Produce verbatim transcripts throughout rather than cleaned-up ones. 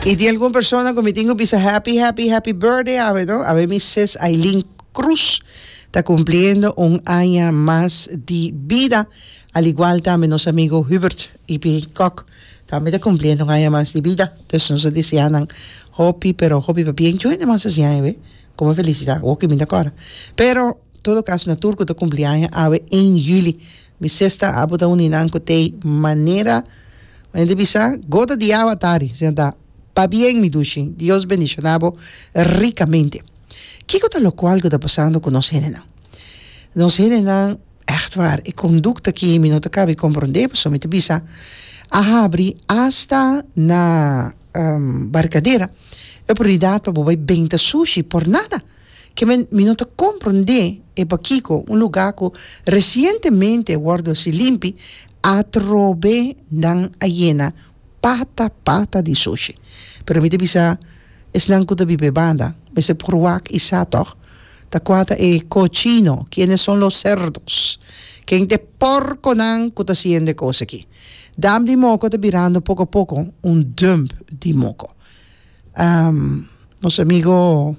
I tin algun persona ku mi tin ku bisa happy, happy, happy birthday awe, no? Awe mi sis Aileen Cruz ta kumpliendo un aña mas di bida. Al igual tambe nos amigo Hubert I P. Kok tambe ta kumpliendo un aña mas di bida. Dus nos ta desea nan hopi, pero hopi pabien. Yo hende mas hasi aña, be? Komo felisidat, oké, mi ta kòrda. Pero, todo kaso, na tur ku ta kumpli aña awe un yüli. Mi sis ta abo ta un di nan ku te manera, manera bisa, gota di awa tari, senta. Pabien, mi dushi. Dios bendishoná bo rikamente. Kiko ta lokual ku ta pasando ku nos hendenan? Nos hendenan, echt waar, e kondukta ku mi no ta kaba di komprondé, so mi ta bisa, a habri hasta na um, Barcadera, e oportunidat pa bai benta sushi por nada. Ke men, mi no ta komprondé e pakiko un lugá ku resientemente a wòrdu limpi, atrobe nan a yena pata pata di sushi. Pero mi ta bisa, esnan ku ta biba banda, mester por wak i sa toch, ta kua ta e cochino, quiénes son los cerdos, ken ta e porkonan ku ta hasiendo kos aki. Dam di Moko ta birando poko poko un dump di moko. Um, nos amigo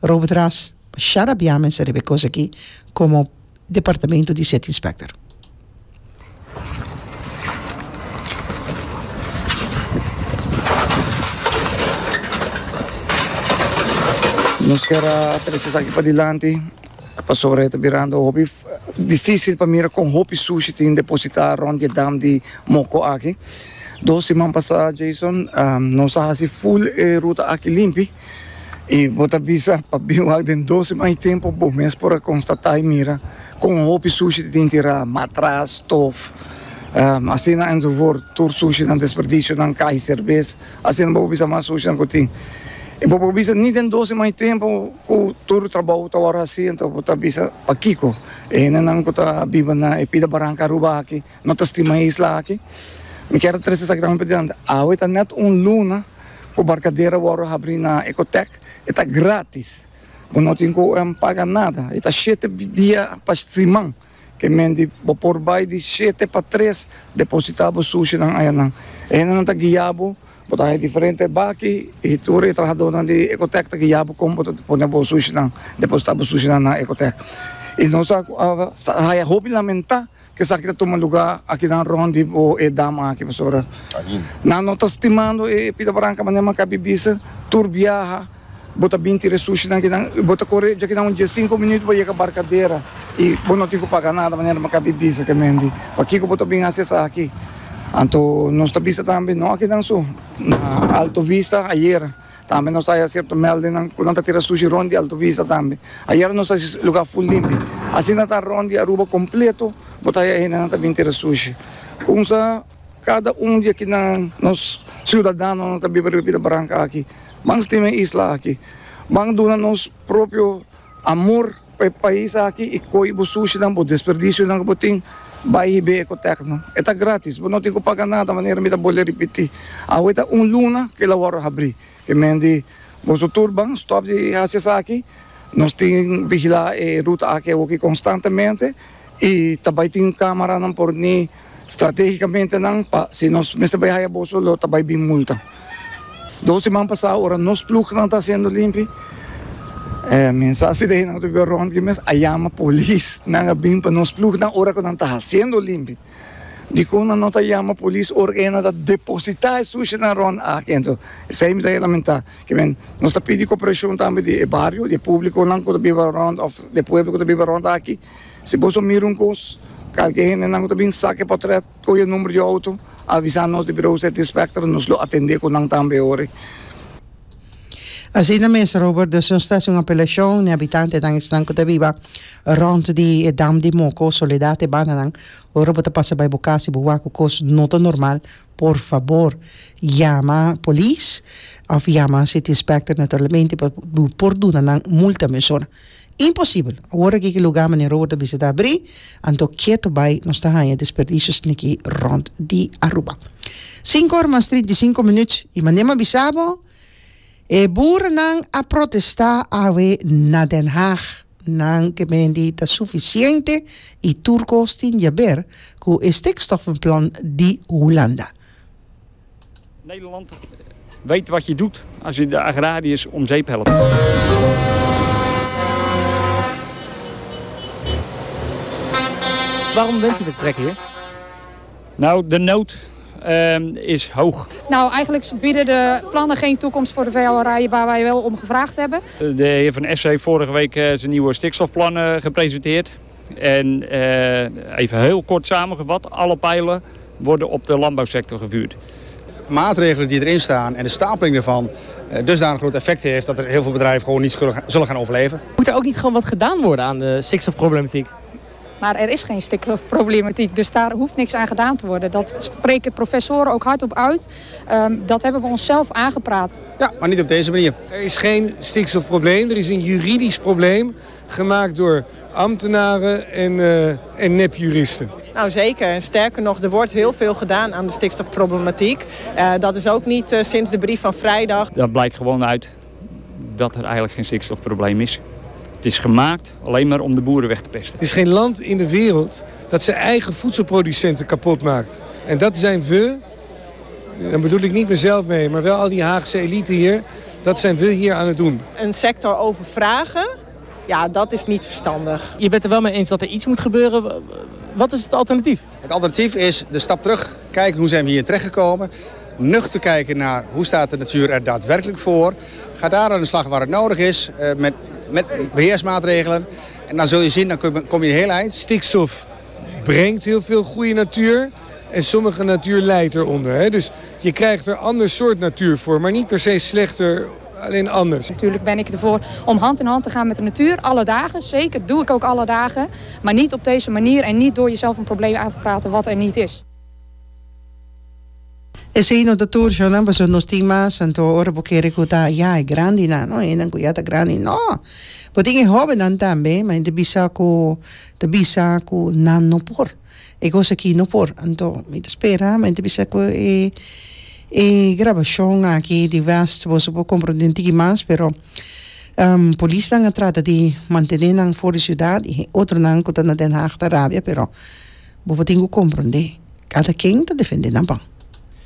Robert Ras, xarabiame sa riba kos aki komo departamento di City Inspector. Nos ke trese esaki padilanti, pasobra ta birando hopi difísil pa mira kon hopi sushi tin depositá rònt di dam di Moko aki. Dos siman pasá, Jason, um, nos a hasi full e ruta aki limpi. I bo ta bisa pa bin den dos siman tempu, bo mes por konstatá i mira kon hopi sushi tin tirá, matras, stof, um, asina enzovoort, tur sushi nan desperdisio nan kai serbes, asina bo bisa mas sushi nan ku tin. I bo bisa ni den dos siman tempu ku tur trabou ta wòrdu hasí, anto bo ta bisa pakiko. E nan ku ta biba na e pida baranka Aruba aki, no ta stima isla aki. Mi ke trese esaki tambe padilanti. Awe ta net un luna ku Barcadera a wòrdu habrí na Ecotech, e ta gratis. Bo no tin ku um, paga nada. E ta shete dia pa siman. Ke men di bo por bai di shete pa tres depositá bo sushi nan ayanan. E nan ta guia bo, bo ta diferente baki i tur e trahadónan di Ecotech ta guia bo kon bo ta pone bo sushi nan, depositá bo sushi nan na Ecotech. I nos a uh, hopi lamentá ku esaki ta tuma lugá aki na rònt di bo e dam aki, pasobra. Nan no ta stimando e pida baranka manera m'a kaba di bisa, tur biaha, bo ta bin tira sushi nan akinan, bo ta kore ya akinan un diesinku minüt pa yega Barcadera i bo no tin ku paga nada manera m'a kaba di bisa ke men di. Pakiko bo ta bin hasi esaki? Anto nos ta bisa tambe no akinan so na Alto Vista ayera. Tambe nos a haya sierto melding ku nan ta tira sushi rònt di Alto Vista tambe. Ayera nos a hasi lugá full limpi. Asina ta rònt di Aruba kompleto, bo ta haya nan ta bin tira sushi. Kumsa kada un di akinan nos siudadanonan ta biba riba baranka aki. Ban stima e isla aki. Ban duna nos propio amor pa e pais aki i koi bo sushi nan bo desperdisio nan ku bo tin bai hiba Ecotech no. E ta gratis, bo no tin ku paga nada manera mi ta bolbe ripití. Awe ta un luna ku el a wòrdu habrí. Ke men di boso tur ban stòp di hasi esaki. Nos tin vigilá e ruta aki aki konstantemente i tambe tin kameranan poní stratégikamente nan pa si nos mester bai haya boso lo ta bai bin multa. Dos siman pasá ora nos ploegnan ta hasiendo limpi. Eh, mensahe di nan ta rònt ku mes a yama polis nan a bin pa nos ploegnan ora ku nan ta hasiendo limpi. Dikon nan no ta yama polis ora ku nan ta depositá e sushi nan rònt aki. Anto, esei mi ta lamentá. Ke men, nos ta pidi kooperashon tambe di e bario, di públiko nan ku ta biba rònt òf di pueblo ku ta biba rònt aki. Si bo mira un kos, kalke hende nan ku ta bin saka portrèt, ku e number di outo, avisá nos di Bureau City Inspector, nos lo atendé ku nan tambe ora. Asina mes, Robert, dus nos ta un apelashon na habitantenan esnan ku ta biba rònt di dam di Moko, Soledad e bandanan. Ora bo ta pasa bai bo kas i bo wak ku kos no ta normal, por fabor, yama polis òf yama City Inspector naturalmente pa por duna nan multa mesora. Imposibel. Awor aki ku lugá manera Robert a bisa ta habrí, anto ketu bai nos ta haña desperdisio sniki rònt di Aruba. sinku or mas trinta i sinku minüt i manera m'a bisa bo, e boerennan a protestá awe na Den Haag. Nan ke men di ta sufisiente i tur kos tin di haber ku e stikstofplan di Hulanda. Nederland Weet wat je doet als je de agrariërs om zeep helpt. Waarom bent u de trekker hier? Nou, de nood uh, is hoog. Nou, eigenlijk bieden de plannen geen toekomst voor de veehouderij waar wij wel om gevraagd hebben. De heer Van Essen heeft vorige week zijn nieuwe stikstofplannen gepresenteerd. En uh, even heel kort samengevat, alle pijlen worden op de landbouwsector gevuurd. Maatregelen die erin staan en de stapeling ervan dusdanig groot effect heeft dat er heel veel bedrijven gewoon niet zullen gaan overleven. Moet er ook niet gewoon wat gedaan worden aan de stikstofproblematiek? Maar er is geen stikstofproblematiek, dus daar hoeft niks aan gedaan te worden. Dat spreken professoren ook hardop uit. Um, dat hebben we onszelf aangepraat. Ja, maar niet op deze manier. Er is geen stikstofprobleem, er is een juridisch probleem gemaakt door ambtenaren en, uh, en nepjuristen. Nou zeker. Sterker nog, er wordt heel veel gedaan aan de stikstofproblematiek. Uh, dat is ook niet uh, sinds de brief van vrijdag. Dat blijkt gewoon uit dat er eigenlijk geen stikstofprobleem is. Het is gemaakt alleen maar om de boeren weg te pesten. Er is geen land in de wereld dat zijn eigen voedselproducenten kapot maakt. En dat zijn we, dan bedoel ik niet mezelf mee, maar wel al die Haagse elite hier. Dat zijn we hier aan het doen. Een sector overvragen, ja, dat is niet verstandig. Je bent er wel mee eens dat er iets moet gebeuren. Wat is het alternatief? Het alternatief is de stap terug, kijken hoe zijn we hier terechtgekomen. Nuchter kijken naar hoe staat de natuur er daadwerkelijk voor. Ga daar aan de slag waar het nodig is, met, met beheersmaatregelen. En dan zul je zien, dan kom je een heel eind. Stikstof brengt heel veel goede natuur. En sommige natuur lijdt eronder. Hè? Dus je krijgt er ander soort natuur voor, maar niet per se slechter, alleen anders. Natuurlijk ben ik ervoor om hand in hand te gaan met de natuur, alle dagen. Zeker, doe ik ook alle dagen. Maar niet op deze manier en niet door jezelf een probleem aan te praten wat er niet is. Esei no ta tur shownan pasobra nos tin mas anto ora bo kere ku ta ya e grandinan no e nan ku ya ta grandi no bo tin e hobennan tambe ma ta bisa ku ta bisa ku nan no por e kos aki no por anto mi ta spera mi ta bisa ku e e grabashon aki di West boso por komprende un tiki mas pero um, polisnan a trata di mantene nan for di siudat i otronan ku ta na Den Haag ta rabia pero bo por tin ku komprende kada ken ta defende nan pan.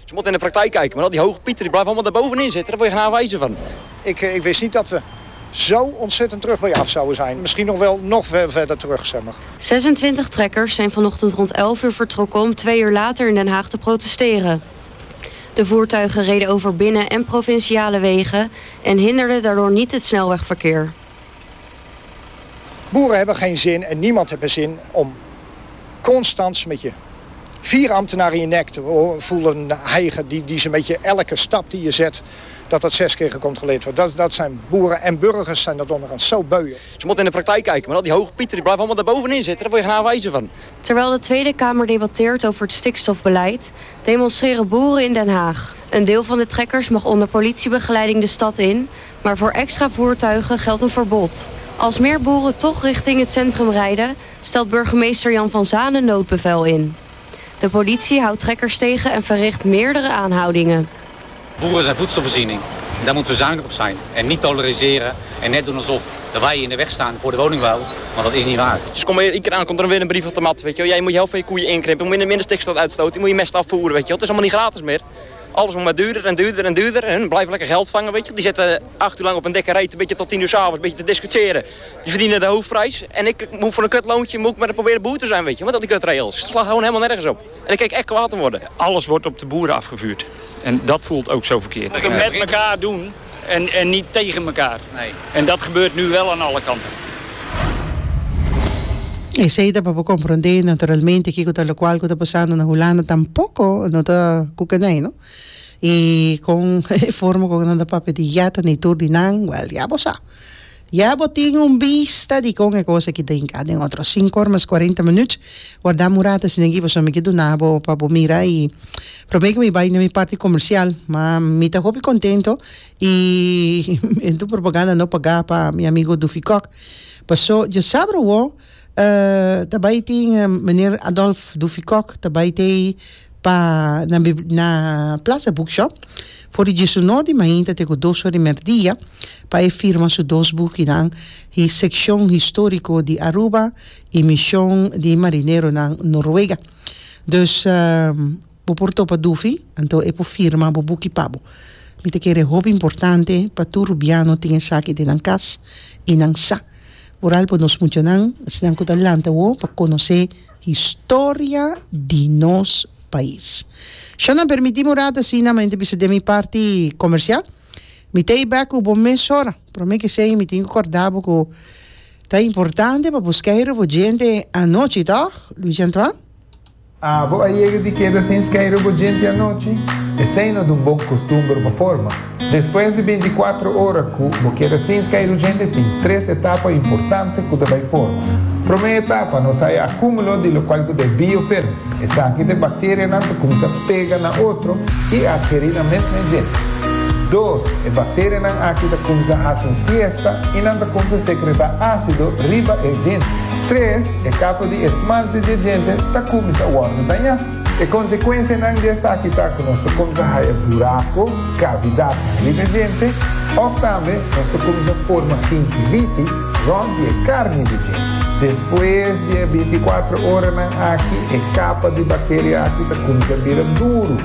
Ze moeten in de praktijk kijken, maar al die hoge pieten die blijven allemaal daarbovenin zitten. Daar word je geen aanwijzen van. Ik, ik wist niet dat we zo ontzettend terug bij af zouden zijn. Misschien nog wel nog ver, verder terug, zeg maar. zesentwintig trekkers zijn vanochtend rond elf uur vertrokken om twee uur later in Den Haag te protesteren. De voertuigen reden over binnen- en provinciale wegen en hinderden daardoor niet het snelwegverkeer. Boeren hebben geen zin en niemand heeft er zin om constant met je vier ambtenaren in je nek te voelen hijgen die, die ze met je elke stap die je zet, dat dat zes keer gecontroleerd wordt. Dat, dat zijn boeren en burgers zijn dat onderhand zo beu. Ze moeten in de praktijk kijken, maar al die hoge pieten die blijven allemaal daarbovenin zitten. Daar word je geen aanwijzen van. Terwijl de Tweede Kamer debatteert over het stikstofbeleid, demonstreren boeren in Den Haag. Een deel van de trekkers mag onder politiebegeleiding de stad in, maar voor extra voertuigen geldt een verbod. Als meer boeren toch richting het centrum rijden, stelt burgemeester Jan van Zanen noodbevel in. De politie houdt trekkers tegen en verricht meerdere aanhoudingen. Boeren zijn voedselvoorziening. Daar moeten we zuinig op zijn. En niet polariseren en net doen alsof de wij in de weg staan voor de woningbouw. Want dat is niet waar. Dus kom je iedere keer aan, komt er weer een brief op de mat. Weet je wel. Jij moet je helft van je koeien inkrimpen, je moet minder, minder stikstof uitstoten, je moet je mest afvoeren. Weet je wel. Het is allemaal niet gratis meer. Alles moet maar duurder en duurder en duurder. En hun blijven lekker geld vangen, weet je. Die zitten acht uur lang op een dikke reet, een beetje tot tien uur 's avonds, een beetje te discussiëren. Die verdienen de hoofdprijs. En ik moet voor een kutloontje moet ik maar proberen boer te zijn, weet je. Met al die kutregels. Het slaat gewoon helemaal nergens op. En ik kijk echt kwaad te worden. Alles wordt op de boeren afgevuurd. En dat voelt ook zo verkeerd. We moeten het met elkaar doen en, en niet tegen elkaar. Nee. En dat gebeurt nu wel aan alle kanten. Esei ta pa bo komprondé naturalmente kiko ta lokual ku ta pasando na Hulanda tampoko no ta kukenei, no? I kon e forma ku nan ta papia di ya ta ni tur di nan, wèl, ya bo sa. Ya bo tin un bista di kon e kos aki ta hinká den otro. Sinku or mas kuarenta minüt. Warda un rato asina aki pasobra mi ke duna bo pa bo mira i promé ku mi bai na mi parti komersial. Ma mi ta hopi kontento i e ta un propaganda no pagá pa mi amigo Dufi Kok. Paso djasabra awor ta bai tin meneer Adolf Dufi Kok ta bai tei pa na na Plaza Bookshop for di diesunor di mainta te ku dos or di merdia pa e firma su dos bukinan hi Seccion Historico di Aruba i Mision di Marineronan Noruega. Dus bo por topa Dufi anto e por firma bo buki pa bo. Mi ta kere hopi importante pa tur Rubiano tin esaki den nan cas y nan sa. Vooral pa nos muchanan, esnan cu ta lanta awo pa conoce historia di nos pais. Shana, permiti mi un rato asina, mi ta bisa den mi parti comercial. Mi ta bek cu bo mesora. Prome cu esey mi tin cu corda bo cu ta importante pa busca e bo djente anochi, toch, Luis Antoine? Abo a yega di keda sin skeiru bo djente anochi? Esei no ta un bon kustumber pa forma. Despues di binti kuater ora ku bo keda sin skeiru djente, tin tres etapa importante ku ta bai forma. Promé etapa, nos haya akúmulo di lokual ku ta e biofilm. Esaki ta e bakterianan ta kuminsá pega na otro i atkerí nan mes na e djente. Dos, e bakterianan aki ta kuminsá hasi un fiesta i nan ta kuminsá sekretá ásido riba e djente. Tres, e kapa di esmalte di e djente ta kuminsá wòrdu dañá. E konsekuensianan di esaki ta ku nos ta kuminsá haya burako, kavidatnan riba e djente, òf tambe nos ta kuminsá forma gingivitis rònt di e karni di djente. Despues di e binti i kuater oranan aki e kapa di bakteria aki ta kuminsá bira duru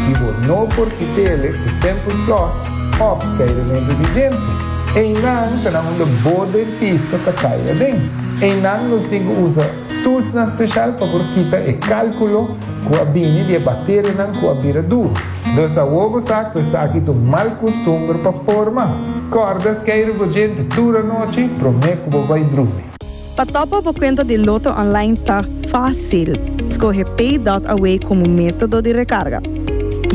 i bo no por kit'ele ku simpel flòs òf skeirementu di djente. Einan ta na unda bo dentista ta kai aden. Einan nos tin ku usa toolsnan speshal pa por kita e kálkulo ku a bini di e bakterianan ku a bira duru. Dus awor bo sa ku esaki ta un mal kustumber pa forma. Kòrda skeiru bo djente tur anochi promé ku bo bai drumi. Pa topa bo kuenta di Lotto Online ta fásil. Skohe Pay dot Away komo método di rekarga.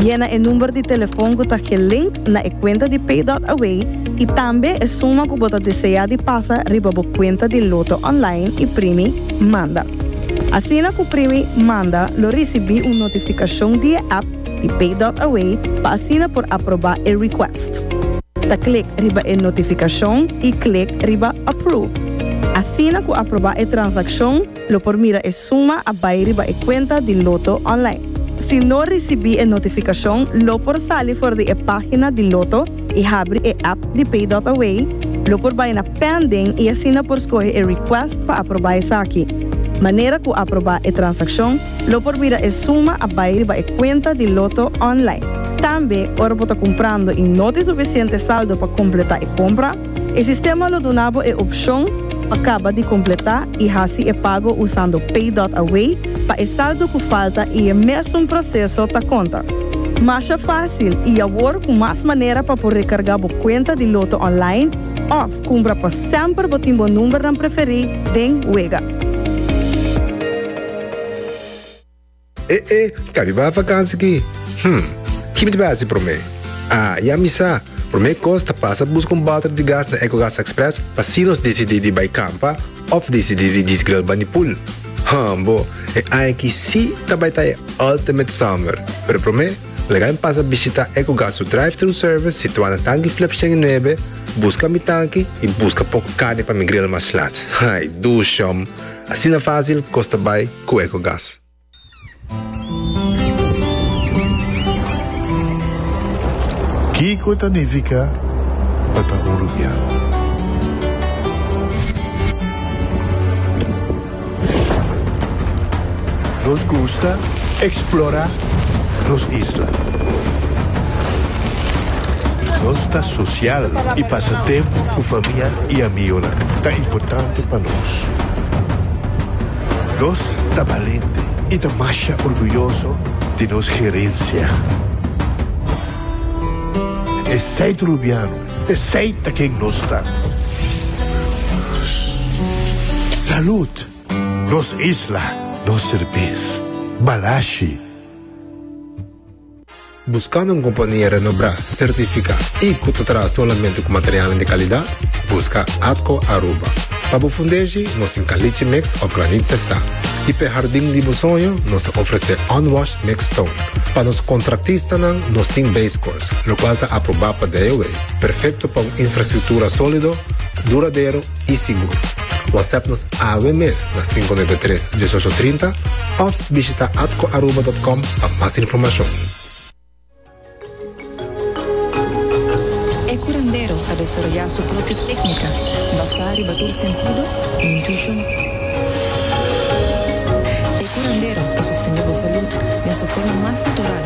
Yena e number di telefòn ku ta gelink na e kuenta di Pay dot Away i tambe e suma ku bo ta deseá di pasa riba bo kuenta di Lotto Online i primi Manda. Asina ku primi Manda lo risibí un notifikashon di e app di Pay dot Away pa asina por aprobá e request. Ta klik riba e notifikashon i klik riba Approve. Asina ku aprobá e transakshon lo por mira e suma a bai riba e kuenta di Lotto Online. Si no risibí e notifikashon lo por sali for di e página di Lotto i habri e app di Pay dot Away, lo por bai na Pending i asina por skohe e request pa aprobá esaki. Manera ku aprobá e transakshon lo por mira e suma a bai riba e kuenta di Lotto Online. Tambe ora bo ta kumprando i no tin sufisiente saldo pa kompletá e kompra, e sistema lo duna bo e opshon pa kaba di kompletá i hasi e pago usando Pay dot Away pa e saldo ku falta i e mesun proseso ta konta. Masha fásil i awor ku mas manera pa por rekargá bo kuenta di Lotto Online òf kumpra pa semper bo tin bo numbernan preferí den wega. E e, ka mi bai vakansi ki? Hm, ki mi ta bai hasi promé? Ah, ya mi sa. Promé kos ta pasa buska un bòter di gas na Ecogas Express pa si nos disidí di bai kampa òf disidí di djis grill banda di pool. Hambo, e aña aki sí ta bai ta e ultimate summer. Pero promé, laga mi pasa bishitá Ecogas su drive-thru service situá na Tanki Flip shen i nuebe, buska mi tanki i buska poko karni pa mi grill mas lat. Ai, dushom! Asina fásil kos ta bai ku Ecogas. Kiko ta nifiká pa ta un Rubiano? Nos gusta eksplorá nos isla. Nos ta sosial i pasa tempu ku famia i amigonan ta importante pa nos. Nos ta balente i ta masha orguyoso di nos gerensia. Esei ta Rubiano, esei ta ken nos ta. Salud! Nos isla, nos serbes. Balashi. Buscando un compania renombra, certifica y cu ta traha solamente cu materialnan di calidad? Busca Atco Aruba. Pa bo fundeshi, nos tin caliche mix of graniet sefta. Y p'e hardin di bo soño, nos ta ofrece unwashed mixed stone. Pa nos contractistanan, nos tin base course, locual ta aproba pa D O W. Perfecto pa un infrastructura solido, duradero y sigur. WhatsApp nos awe mes na cinco nuebe tres, diesocho trinta of bishita atco aruba dot com pa mas informacion. E curandero ta desaroyá su propio técnica basá riba tur sentido i intuishon. E curandero ta sostené bo salud den su forma mas natural.